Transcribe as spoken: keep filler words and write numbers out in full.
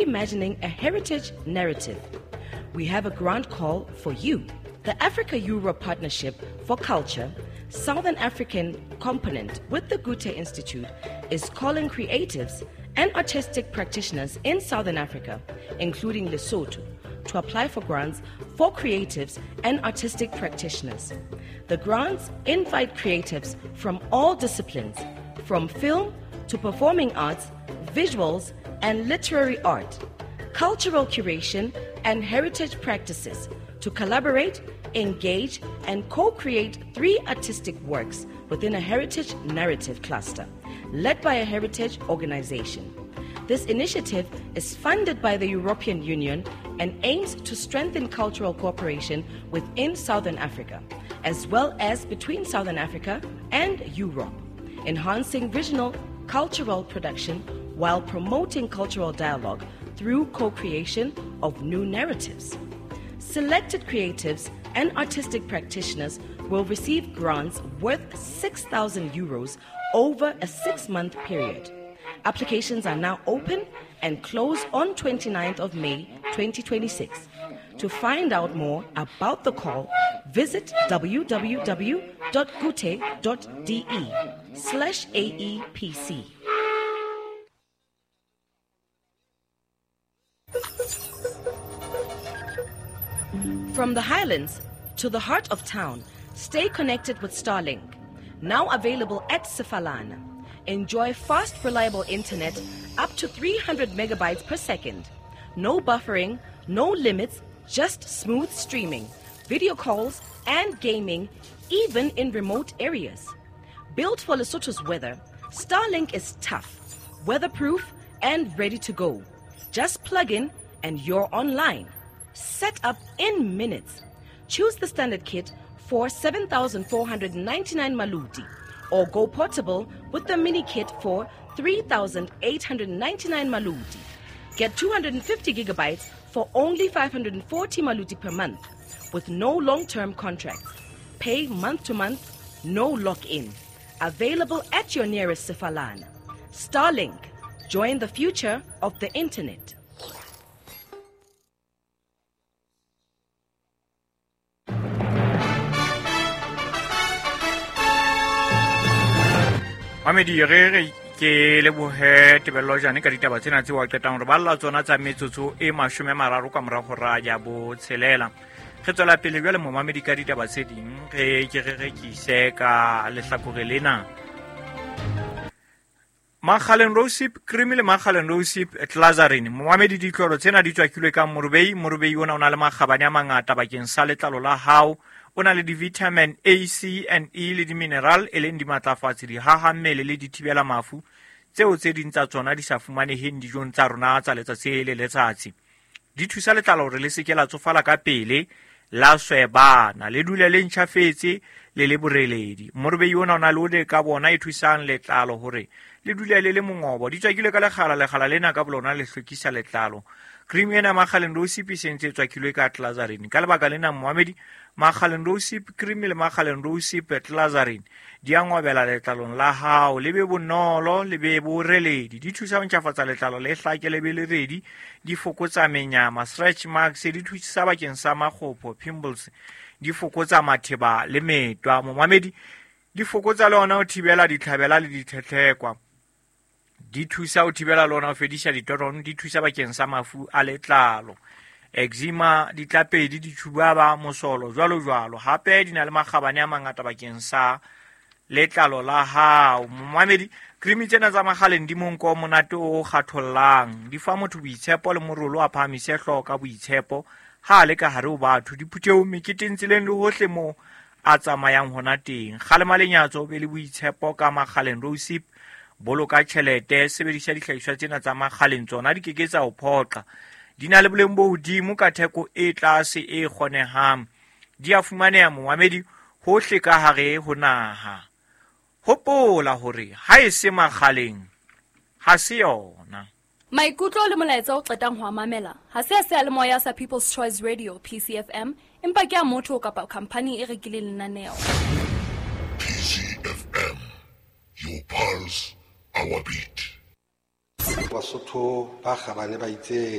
Imagining a heritage narrative. We have a grant call for you. The Africa-Europe Partnership for Culture, Southern African component with the Goethe Institute, is calling creatives and artistic practitioners in Southern Africa, including Lesotho, to apply for grants for creatives and artistic practitioners. The grants invite creatives from all disciplines, from film to performing arts, visuals, and literary art, cultural curation, and heritage practices to collaborate, engage, and co-create three artistic works within a heritage narrative cluster, led by a heritage organization. This initiative is funded by the European Union and aims to strengthen cultural cooperation within Southern Africa, as well as between Southern Africa and Europe, enhancing regional cultural production while promoting cultural dialogue through co-creation of new narratives. Selected creatives and artistic practitioners will receive grants worth six thousand euros over a six-month period. Applications are now open and close on twenty-ninth of May twenty twenty-six. To find out more about the call, visit w w w dot goethe dot de slash A E P C. From the highlands to the heart of town, stay connected with Starlink. Now available at Sefalana. Enjoy fast, reliable internet up to three hundred megabytes per second. No buffering, no limits, just smooth streaming, video calls, and gaming, even in remote areas. Built for Lesotho's weather, Starlink is tough, weatherproof, and ready to go. Just plug in and you're online. Set up in minutes. Choose the standard kit for seven thousand four hundred ninety-nine maluti or go portable with the mini kit for three thousand eight hundred ninety-nine maluti. Get two hundred fifty gigabytes for only five hundred forty maluti per month with no long-term contracts. Pay month to month, no lock-in. Available at your nearest Sefalana. Starlink. Join the future of the internet. Mamedi, re re ke lebohe Tebello Jane ka ditaba tsena tseo a qetang re balla tsona tsa metsotso e mashome a mararo ka mora hora ya botshelela. Re tswela pele jwale, momamedi, ka ditaba tse ding. Re ke re rekise ka lehlakore lena. Makgaleng Rosip cream le Makgaleng Rosip Glycerin, momamedi, ditlolo tsena di tswakilwe ka morobei. Morobei ona o na le makgabane a mangata bakeng sa letlalo la hao. O na le di-vitamin A, C and E le di-mineral, e leng dimatlafatsi, dihaha mmele le dithibela mafu tseo tse ding tsa tsona di sa fumaneheng dijong tsa rona tsa letsatsi le letsatsi. Di thusa letlalo hore le se ke la tsofala ka pele, la swebana, le dule le ntjhafetse, le le boreledi. Morobei ona o na le ole ka bona e thusang letlalo hore le dule le le mongobo. Di tswakilwe ka lekgala. Lekgala lena ka bolona le hlwekisa letlalo. Cream ena Makgaleng Rosip e sentse e tswakilwe ka glycerin. Ka lebaka lena, moamedi, Makgaleng Rosip cream le Makgaleng Rosip Glycerin di a ngobela letlalong la hao, le be bonolo, le be boreledi. Di thusa ho ntjhafatsa letlalo, le hlake, le be le redi. Di fokotsa menyama, stretch marks. Di thusa bakeng sa makgopho, pimples. Di fokotsa matheba le metwa, momamedi. Di fokotsa le ona ho thibela ditlhabela le ditlhetlhekwa. Di thusa ho thibela le ona ho fedisa ditorono. Di thusa bakeng sa mafu a letlalo, eczema, ditlapedi, ditshubaba, mosolo, jwalo jwalo. Hape di na le makgabane a mangata bakeng sa letlalo la hao, momamedi. Cream tsena tsa Makgaleng di monko o monate o kgathollang. Di fa motho boitshepo le morolo, a phahamise hlooho ka boitshepo ha a le ka hare ho batho, diphuthehong, meketeng, tseleng le hohle moo a tsamayang hona teng. Kgalema lenyatso, o be le boitshepo ka Makgaleng Rosip. Boloka tjhelete, sebedisa dihlahiswa tsena tsa Makgaleng. Tsona di ke ke tsa o phoqa. Di na le boleng bo hodimo ka theko e tlase e kgonehang. Di a fumaneha, momamedi, hohle ka hare ho naha. Hopola hore ha e se Makgaleng, ha se yona. Maikutlo le molaetsa o qetang ho a mamela ha se a seyalemoya sa People's Choice Radio, P C F M, empa ke a motho kapa khamphani e rekileng lenaneo. P C F M, your pulse, our beat. Basotho ba kgabane ba itse